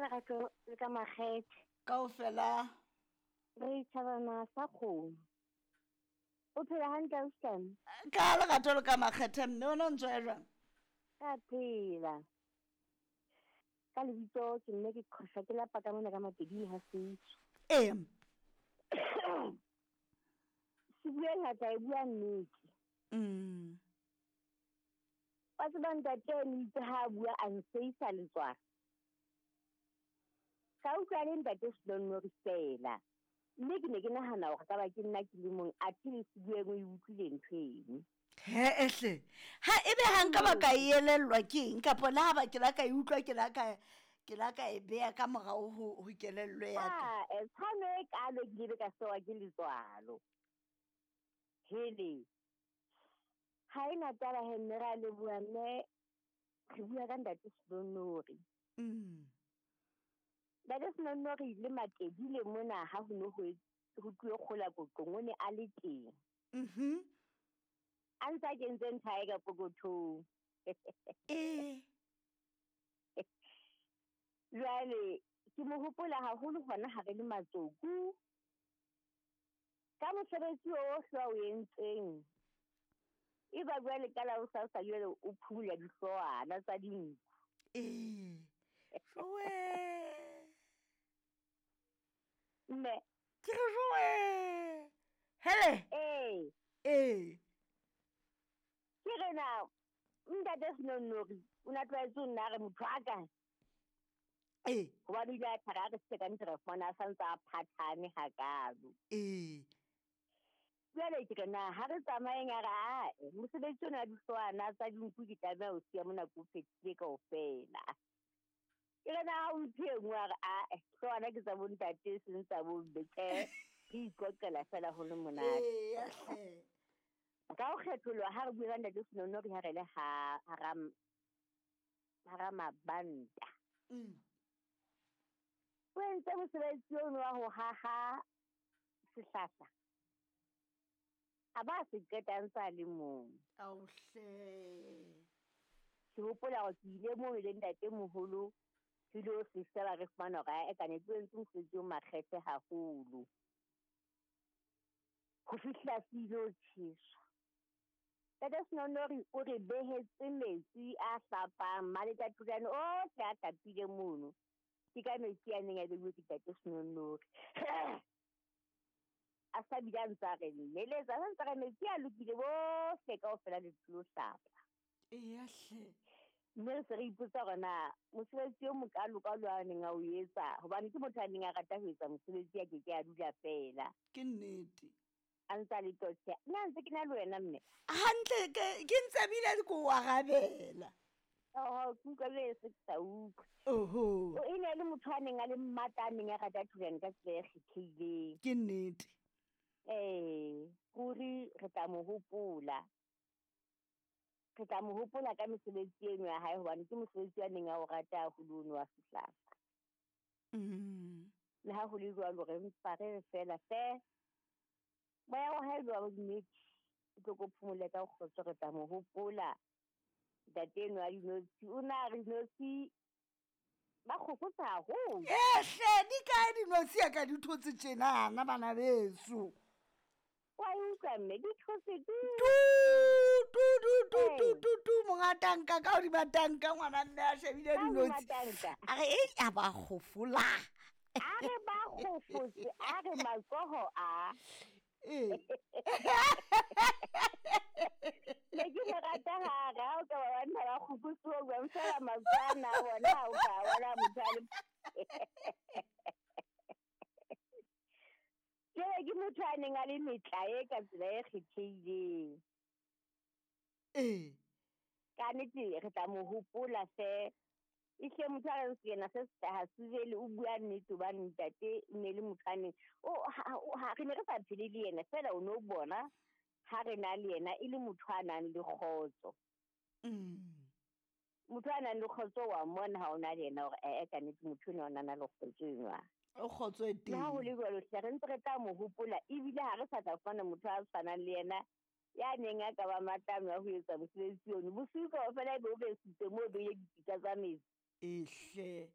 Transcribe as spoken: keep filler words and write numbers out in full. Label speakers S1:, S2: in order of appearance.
S1: lerato le ka makgethe.
S2: Kaofela.
S1: Re thabana sa kgomo. O phela hantle ausi?
S2: Ka lerato le ka makgethe mme o no ntse jwang?
S1: Ka phela. Ka lebitso ke nne ke qhosha ke lapa ka mona ka Mapeding ha Seitso.
S2: Ee.
S1: Se bua ngata e bua nnete.
S2: Mm.
S1: Wa tseba ntate o itse ha a bua a nseisa letswalo. Ka utlwa le ntate Senonnori fela. Mme ke ne ke nahana hore ka ba ke nna ke le mong athe le Sebueng o e utlwile ntho eno.
S2: He ehle. Ha ebe ha nka ba ka e elellwa ke eng kapa le ha ba ke la ka e utlwa ke la ka ke la ka e beha ka morao ho ho kelello ya ka.
S1: Ah, e tshwano e kalo ke ile ka sewa ke letswalo. Hele. Ha ena taba he mme ra leboha mme re bua ka ntate Senonnori.
S2: Mm.
S1: Ntate Senonnori le Matedile mona ha ho no ho ho tluwe kgola koqong o ne a le teng.
S2: Mhm.
S1: A ntse a kentse ntho ya hae ka pokothong.
S2: Eh.
S1: Jwale ke mo hopola haholo hona ha re le matsoku. Ka mosebetsi ohle a o entseng. E ba jwale ka la hosasa jwale o phumula dihloohwana tsa dinku.
S2: Eh. Joe.
S1: Mme.
S2: Ke re joe. Hele.
S1: Eh.
S2: Eh.
S1: Ke re na ntate Senonnori o na tlwaetse ho nna re motho a ka.
S2: Eh.
S1: Hobane o ile a thara re se ka ntse re fumana a santse a phathane hakalo.
S2: Eh.
S1: Jwale ke re na ha re tsamayeng a re ae mosebetsi ona wa dihloohwana tsa dinku ke tlameha ho siya mona ko phethile kaofela. Ke re na ha o iphe e nngwe a re ae hloohwana ke tsa bontate e seng tsa bomme tjhe re iqoqela fela ho le monate.
S2: Eya hle.
S1: Ka ho kgetholoha ha re bua ka ntate Senonnori ha re le ha hara hara mabanta.
S2: Mm.
S1: O entse mosebetsi ono wa ho haha sehlahla. A ba se qeta a ntse a le mong.
S2: Ao hle.
S1: Ke hopola hore ke ile moo le ntatemoholo ke ilo se sheba re fumana hore ae kannete o entse mosebetsi o makgethe haholo. Ho fihla se ilo tjheswa. Ntate Senonnori o re behetse metsi a hlapang maletatulane ohle a hlapile mono. Ke ka metsi a neng a beuwe ke ntate Senonnori. A sa bile a ntse a re neletsa, a sa ntse a re metsi a lokile bohle kaofela le tlilo hlapa.
S2: Eya hle.
S1: Mme re se re ipotsa hore na mosebetsi o mokalokalo a neng a o etsa hobane ke motho a neng a rata ho etsa mosebetsi a keke a dula feela.
S2: Ke nnete.
S1: A ntse a le totjhe. Nna ntse ke na le wena mme.
S2: Hantle ke ke ntse bile ke o arabela.
S1: Oho, ke utlwa le se ke sa utlwe.
S2: Oho.
S1: O e ne le motho a neng a le mmata a neng a rata thulane ka tsela e kgethehileng.
S2: Ke nnete.
S1: Eh, ruri re tla mo hopola. Re tla mo hopola ka mesebetsi eno ya hae hobane ke mosebetsi a neng a o rata haholo ono wa sehlahla.
S2: Mm.
S1: Le ha ho le jwalo re mpa re re fela fe. Moya wa hae wa nnete o tlo ko phomole ka kgotso re tla mo hopola. Ntate eno wa dinotshi o na re dinotshi ba kgokotsa haholo.
S2: Ehle di kae dinotshi ya ka di thotse tjenana bana beso.
S1: Wa e utlwa mme di thotse tu.
S2: Tu tu tu tu tu tu tu monga tanka ka hodima tanka ngwana mme a shebile
S1: Ka hodima
S2: dinotshi.
S1: tanka.
S2: A re ei a ba kgofola.
S1: A re ba kgofotse a re matsoho a.
S2: Eh.
S1: Ne ke mo rata ha re ha o ka ba banna ba kgopotse ho bua fela matsoho ana a bona ha o ka bona motho a le Jwale ke motho a neng a le metlae ka tsela e kgethehileng.
S2: Eh.
S1: Ka nnete re tla mo hopola hle. Ehlile motho a reng sena se sehlaha se o bua nnete hobane ntate e ne le motho a neng o ha ha re ne re sa phele le yena fela o no bona ha re na le yena e le motho a nang le kgotso.
S2: Mm.
S1: Motho a nang le kgotso wa mmona ha o na le yena hore eh ka nnete motho enwa o na na le kgotso enwa.
S2: O kgotso e
S1: Le ha ho
S2: teng.
S1: le jwalo hle re ntse re tla mo hopola ebile ha re sa tla fumana motho a tshwanang le yena ya neng a ka ba matlamo a ho etsa mosebetsi ono. Bosiu kaofela ebe o besitse moo o beile dipitsa tsa metsi.
S2: Ehle.